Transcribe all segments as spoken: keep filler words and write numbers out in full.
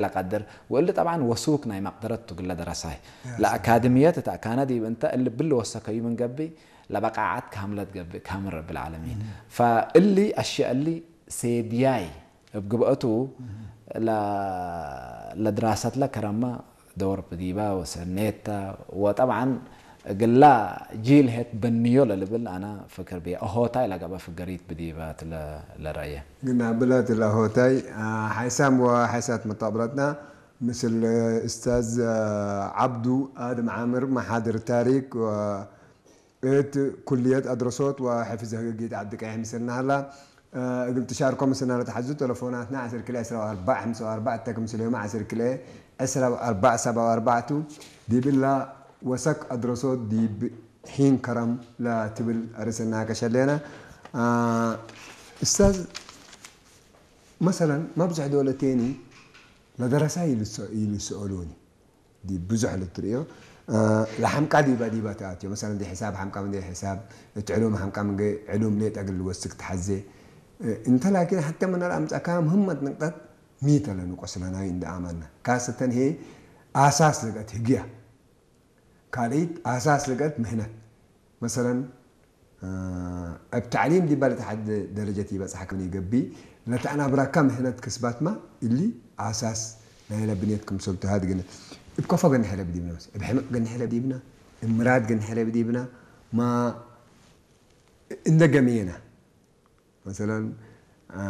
ለቀድር፣ ወእሊ ጠብዓን ወሱክ ናይ መቅደረት ቱ ግለ ደረሳይ። ያ ሰላም። ለአካድምየት እት አካነ ዲብ እንተ እሊ ብሊ ወሰከዩ ምን ገብእ፣ ለበቃዓት ካምለት ገብእ፣ ካምል ረቢ ለዓለሚን። እም። ፈእሊ አሽያእ እሊ ሴድያይ እብ ግብአቱ እም። ለ-፣ ለድራሰትለ ከረመ ደወር ብዲበ ወሰኔተ፣ ወጠብዓን እግላ ጂል ህት በንዮ ለልብል አነ ፍክር ብየ። አሆታይ ለገብአ ፍገሪት ብዲበ ትለ ለረአየ። ግን አብለት ለአሆታይ፣ አ፣ ሓይሳም ወሓይሳት መጣብረትና ምስል እስታዝ፣ አ፣ ዓብዱ አድም ዓምር መሓድር ታሪክ ወ-፣ እት ኩልየት አድረሶት ወሕፍዝ ህግጊት ዐዲ ቀይሕ ምስልና ሀላ። እግል ትሻርኮ ምስልና ለተሐዙ ተለፎናትና ዐስር ክልኤ ዕስራ ወአርበዕ ሐምሳ ወአርበዕ እተ ክምስል ዮም ዐስር ክልኤ ዕስራ ወአርበዕ ሰብዓ ወአርበዕ ቱ። ዲብላ ወሰክ አድረሶት ዲብ ሒን ከረም ለትብል አርእስ እናቀሸሌነ። አ፣ እስታዝ፣ መሰለን መብዝሕ ዶለቴኒ ለደረሳይ ይልሰ-፣ ይልሰአሉኒ። ዲብ ብዙሕ ልትርእዮ፣ እ፣ ለሐምቃ ዲበ ዲበ ተአትዮ። መሰለን፣ እንዴ ሕሳብ ሐምቃ፣ እንዴ ሕሳብ እት ዕሉም ሐምቃ፣ ምንጌ ዕሉም ሌጠ እግል ልወስክ ተሐዜ። እ፣ እንተ ላኪን፣ ሐቴ ምነ ለአምጸእካ ምህመት ንቅጠት ሚ ተ ለንቆስ ለናይ እንዴ አመነ። ካሰተን ህዬ አሳስ ልቀት ህግያ። ካልኢት አሳስ ልቀት ምህነት። መሰለን፣ እ፣ እብ ተዕሊም ዲበ ለተሐት ደረጀት ኢበጽሐክ ምን ኢገብእ፣ ለተአናብራካ ምህነት ክስባትመ እሊ አሳስ ናይለ ብንየት ክምሰል ቱ። ሀድ ግን እብ ከፎ ገንሐ ለብዲብነ፣ መስ-፣ እብ ሕምቅ ገንሐ ለብዲብነ፣ እብ ምራድ ገንሐ ለብዲብነ፣ ማ እንደ ገምየነ። መሰለን፣ አ፣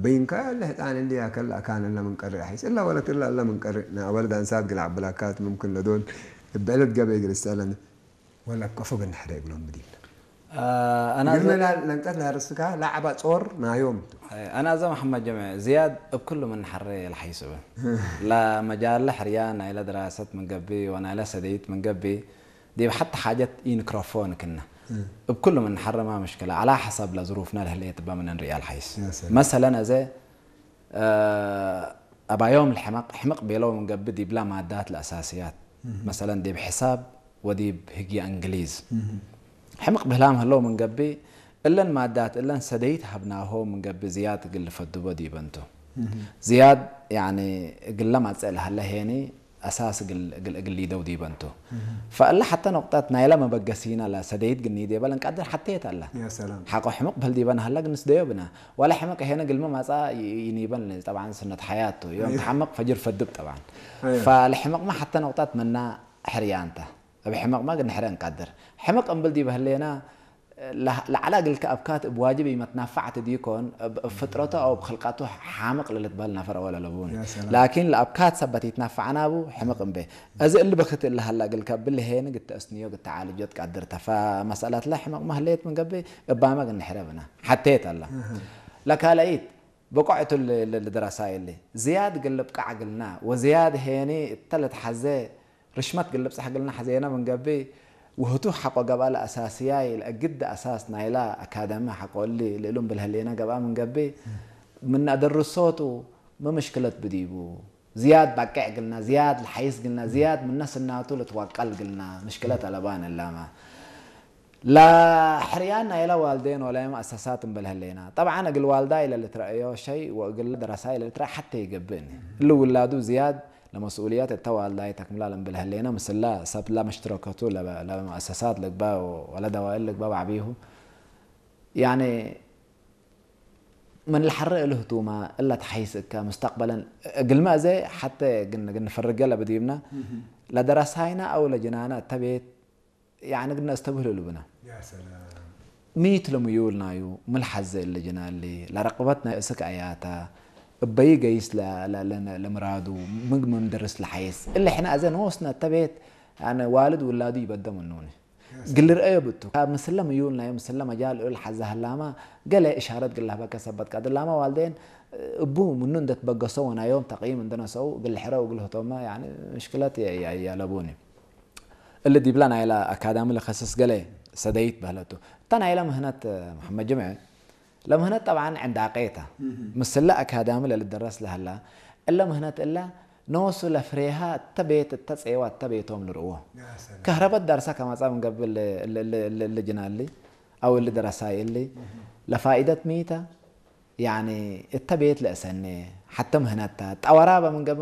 በይንካ ለህጣን እሊ አከል አካን እለ ምን ቀርእ አሒስ እለ ወለት እለ እለ ምን ቀርእ፣ ነአወልድ አንሳት ግል ዐብላካት ምምክን ለዶል እብ ዕለት ገበይ እግል እሰአለን ወለ አብ ቀፎ ገንሐረ እግሎም ብዲብነ። አ፣ አና እግልነ ዘ- ላ-፣ ለንቀት ለሀርስካ ለዐባ ጾር ናዮም ቱ። አይ፣ አና ዘ መሐመድ ጀምዐ ዝያድ እብ ክሉ ምን ሐሬ ለሐይስበ። ለመጃለ ሕርያን ናይለ ድራሰት ምን ገብእ ወናይለ ሰደይት ምን ገብእ ዲብ ሐተ ሓጀት ኢንክረፎን ክነ። እም። እብ ክሉ ምን ሐርማ ምሽክለ፣ ዐላ ሐሰብ ለዝሩፍነ ለህሌት እበ ምን እንርእያ ለሐይስ። ያ ሰላም። መሰለን፣ አዜ፣ እ፣ አባዮም ለሕመቅ፣ ሕምቅ ቤለው ምን ገብእ ዲብላ ማዳት ለአሳስያት። እም። መሰለን፣ ዲብ ሕሳብ ወዲብ ህግየ እንግሊዝ። እም። ሕምቅ ብህላም ህለው ምን ገብእ፣ እለን ማዳት እለን ሰደይት ሀብናሆ ምን ገብእ ዝያድ እግል ልፈድቦ ዲበን ቱ። እም። ዝያድ፣ ያኒ፣ እግለ ማጽእ ለሀለ ሄኒ፣ አሳስ እግል፣ እግል፣ እግል ሊደው ዲበን ቱ። እህ። ፈእለ ሐተ ኖቅጠት ናይለ መበገሲነ ለሰደይት ግኒ ዲበ ለንቀድር ሐቴት አለ። ያ ሰላም። ሐቆ ሕምቅ በህል ዲበ ነሀለ ግንስደዮ ብነ። ወለ ሕምቅ ሄነ ግልመ ማጻ ይ-፣ ይኒበን። ጠብዓን ሱነት ሐያት ቱ። ዮም አይ። ተሐምቅ ፈጅር ፈድብ ጠብዓን። አይ። ፈለሕምቅመ ሐተ ኖቅጠት ምና ሕርያንተ። እብ ሕምቅመ ግንሕረ እንቀድር። ሕምቅ እምብል ዲበ ህሌነ ለህ-፣ ለዐለ እግልከ አብካት እብ ዋጅብ ኢመትናፈዐት ዲኮን፣ እብ፣ እብ ፍጥረቱ አው እብ ክልቀቱ ሓምቅ ለልትበህል ነፈር አወል አለቡኒ። ያ ሰላም። ላኪን ለአብካት ሰበት ኢትናፈዐ ናቡ ሕምቅ እምቤ። አዜ እሊ በክት እለ ሀላ እግልከ እብሊ ሄን ግት ተአስንዮ፣ ግት ተዓልጆ ትቀድር ተ። ፈመሰለትለ ሕምቅመ ህሌት ምን ገብእ እባመ ግንሕረ ብነ። ሐቴት አለ። እህ። ለካልኢት ብቆዕ ቱ ል-፣ ል-፣ ልድረሳይ እሊ። ዝያድ እግል ልብቃዕ እግልና ወዝያድ ሄኒ እተ ልትሐዜ ርሽመት እግል ልብጸሕ እግልና ሐዜነ ምን ገብእ፣ ወህቱ ሐቆ ገብአ ለአሳስያይ ለእግድ አሳስ ናይላ አካደሚ ሐቆ እሊ ልእሉም ብልህሌነ ገብአ ምን ገብእ፣ ምን አደርሶቱ ሚ ምሽክለት ብዲቡ፣ ዝያድ ባቄዕ እግልና፣ ዝያድ ለሐይስ እግልና፣ ዝያድ ምነ ስናቱ ልትወቀል እግልና፣ ምሽክለት አለባን እላመ። ለሕርያን ናይለ ዋልዴን ወለ መአሰሳት እምብል ህሌና። ጠብዓን እግል ዋልዳይ ለልትረአዮ ሸይ ወእግል ደረሳይ ለልትረአ ሐቴ ይገብእኒ። እሊ ውላዱ ዝያድ ለመስኡልየት እተ ዋልዳይ ተክምላል እምብል ህሌነ፣ ምስለ ሰብ ለመሽትረከቱ ለበ-፣ ለመአሰሳት ልግበእ ወለደዋይል ልግበእ በዐቢሁ። ያኒ ምን ለሐሬ እሉ ህቱመ እለ ተሐይስ እከ ሙስተቅበለን እግልመ አዜ ሐቴ ግን-፣ ግንፈርገ ለብዲብነ እህ። ለደረሳይነ አው ለጅናነ እተ ቤት ያኒ ግድነ እስተብህል እሉ ብነ። ያ ሰላም። ሚ ቱ ለምዩል ናዩ፣ ሚ ለሐዜ እሊ ጅናሊ፣ ለረቅበት ናይ እስክ አያተ፣ እበይ ገይስ ለ-፣ ለ-፣ ለ-፣ ለምራዱ፣ ምን፣ ምን ደርስ ለሐይስ። እሊ ሕነ አዜ ኖስነ እተ ቤት፣ ያኒ ዋልድ ውላዱ ይበደ ምኑኒ። ያ ሰላም። ግል ርአዮ ብቱ። ምስለ ምዩል ናዩ፣ ምስለ መጃል እሉ ለሐዘ ሀላማ፣ ገሌ እሻረት ግል ለህበከ ሰበት ቀድር ላማ ዋልዴን፣ እቡ ምኑ እንደ ትበገሶ ወናዮም ተቅይም እንደ ነሰኡ፣ ግል ሕረው እግል ህቶመ፣ ያኒ ምሽክለት የ-፣ የ-፣ ያለቡኒ። እሊ ዲብለ ናይለ አካዳሚ ለከስስ ገሌ ሰደይት በህለቱ። እተ ናይለ ምህነት መሐመድ ጅምዐ፣ ለምህነት ጠብዓን ዕንዳቄ ተ። እህ። ምስለ አካዳሚ ለልደረስ ለሀላ፣ እለ ምህነት እለ ኖሱ ለፍሬሃ እተ ቤት እተ ጼዋ እተ ቤቶም ልርእዎ። ያ ሰላም። ከህረበት ዳርሰ ከመጻ ምን ገብእ እሊ፣ እሊ፣ እሊ፣ እሊ፣ እሊ ጅናሊ አው እሊ ደረሳይ እሊ እህ። ለፋኢደት ሚ ተ? ያኒ እተ ቤት ለእሰኔ ሐተ ምህነት ተ። ጠወራ በምን ገብእ